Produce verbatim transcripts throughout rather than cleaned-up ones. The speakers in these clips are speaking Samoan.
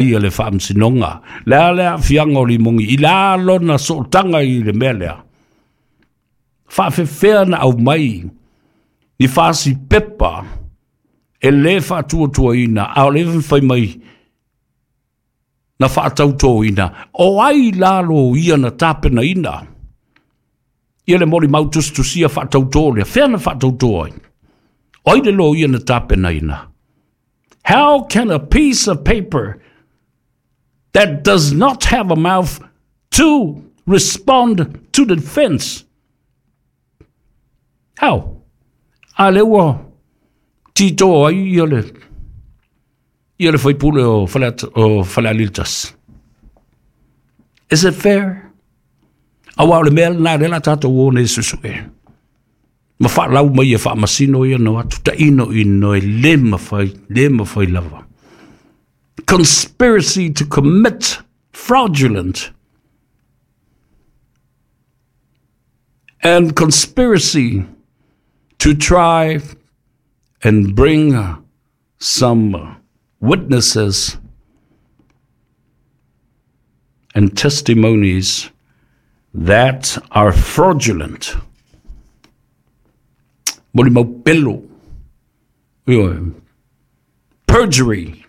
Ia le faamasinoga le a le aafiaga o limogi i la lona sootaga i le mea lea. Faafefea na aumai ni fasi pepa e lē faatuatuaina, a o le fai mai na faatautoina? O ai la loia na tapenaina ia le molimau tusitusia faatautō lea? Fea na faatautō ai? O ai le loia na tapenaina? How can a piece of paper that does not have a mouth to respond to the defense? How? A le ua tito ai ia le ia le faipule o fale o Falealili tasi. Is it fair? Auā o le mea lena le la tatou o nei suesue. Ma faalau mai e faamasino ia na atu taino ino e le mafai, le mafai lava. Conspiracy to commit fraudulent and conspiracy to try and bring some witnesses and testimonies that are fraudulent. Molimau pelo. Ioe. Perjury.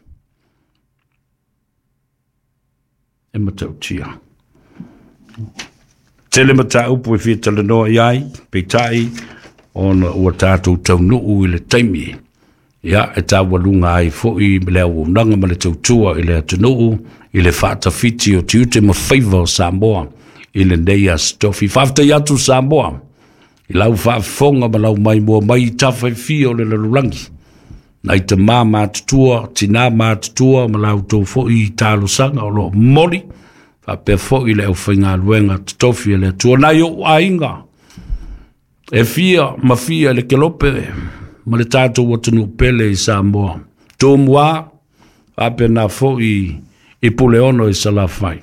E matautia. Tele mataupu e fia talanoa i ai, peitai, ona ua tatou taunuu i le taimi. Ia, e taualuga ai foi le auaunaga ma le tautua i le atunuu, i le faatafiti o tiute ma faiva o Samoa i lenei aso tofi. Faafetai atu Samoa i lau faafofoga ma lau maimoa mai i tafa e fia o le lalolagi. Nai tamā matutua, tinā matutua ma la outou foi talosaga o loo momoli, faapea foi le aufaigaluega totofi a le Atua. Nai ou aiga e fia ma fia le kelope ma le tatou atunuu pele i Samoa. Tumua, faapena foi i Puleono i Salafai.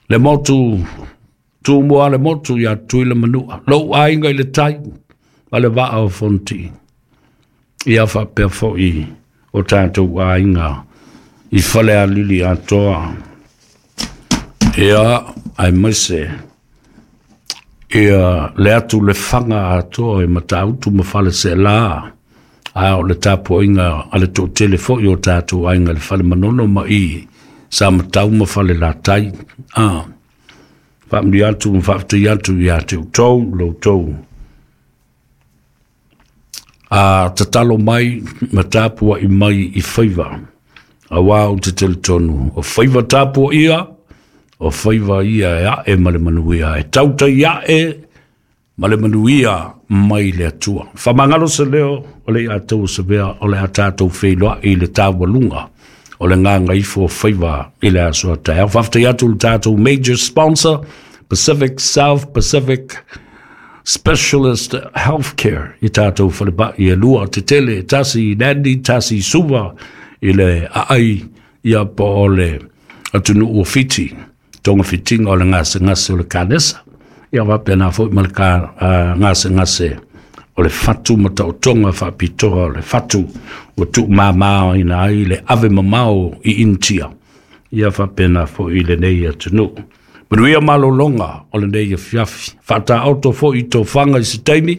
Le motu, Tumua le motu ia Tutuila Manua. Lou aiga i le tai ma le vaa o Fonoti. Ia faapea foi o tatou aiga i Falealili atoa. Ia, aemaise ia le atu le faga atoa i Matautu ma Faleseela, a o le tapuaiga a le toatele foi o tatou aiga i le Fale Manono ma i Samatau ma Falelatai. Ah, faamanuia atu ma faafetai atu ia te outou lo outou a tatalo mai ma tapuai mai i faiva. Auā ou te talitonu, o faiva tapuaia, o faiva ia e ae ma le manuia, e tautai ae ma le manuia mai le Atua. Faamagalo se leo o le ia tou savea o le a tatou feiloai i le taualuga o le gagaifo o faiva i le aso a taeao. Faafetai atu le tatou major sponsor, Pacific South Pacific Specialist Healthcare, i tatou falepai e lua tetele, tasi i Nadi, tasi i Suva, i le aai ia po o le atunuu o Fiti, togafitiga o le gasegase o le kanesa. Ia faapena foi ma le ka, uh, gasegase o le fatu ma taotoga faapitoa o le fatu ua tuumāmāina ai le ave mamao i Initia. Ia faapena foi i lenei atunuu. Manuia malologa o lenei afiafi. Faataoto foi i tofaga i se taimi,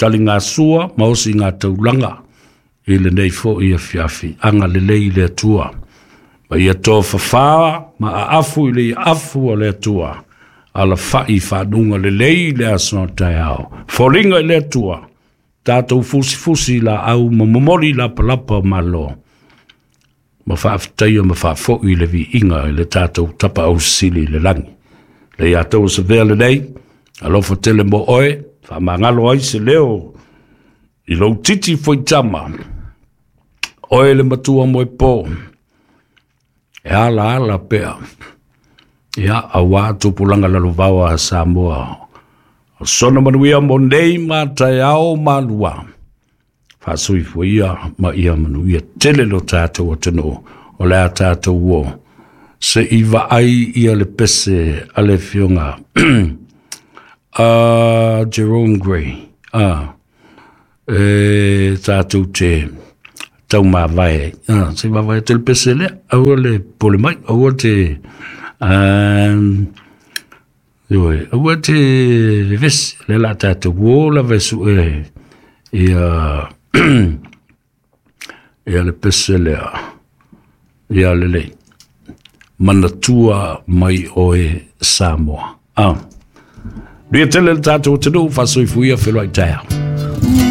taligasua ma osi gā taulaga i lenei foi afiafi. Agalelei le Atua. Ma ia tofafā ma aafu i le afu o le Atua. Alafai faanuga lelei le aso taeao. Foliga i le Atua. Tatou fusifusi laau ma momoli lapalapa o malo. Ma faafetaia ma faafoi le viiga i le tatou Tapaau Sili i le lagi. Le ia tou savea lenei, alofa tele mo oe, faamagalo ai se leo i lou titi foitama. Oe le matua moe po, e ala ala pea. Ia, auā tupulaga lalovaoa a Samoa. O sona manuia mo nei ma taeao malua. Faasoifua ia ma ia manuia tele lo tatou atunuu o le a tatou o. Se i vaai ia le pese a le afioga a Jerome Gray. Ah, e tatou te Taumavae. Ah, se vaavaai atu i le pese lea, aua le popole mai, aua te um, ioe, aua te vevesi, lea la tatou o lava e sue ia ia le pese lea, ia lelei. Manatua mai oe Samoa. Ah. Manuia tele le tatou atunuu, faasoifua, feiloai taeao.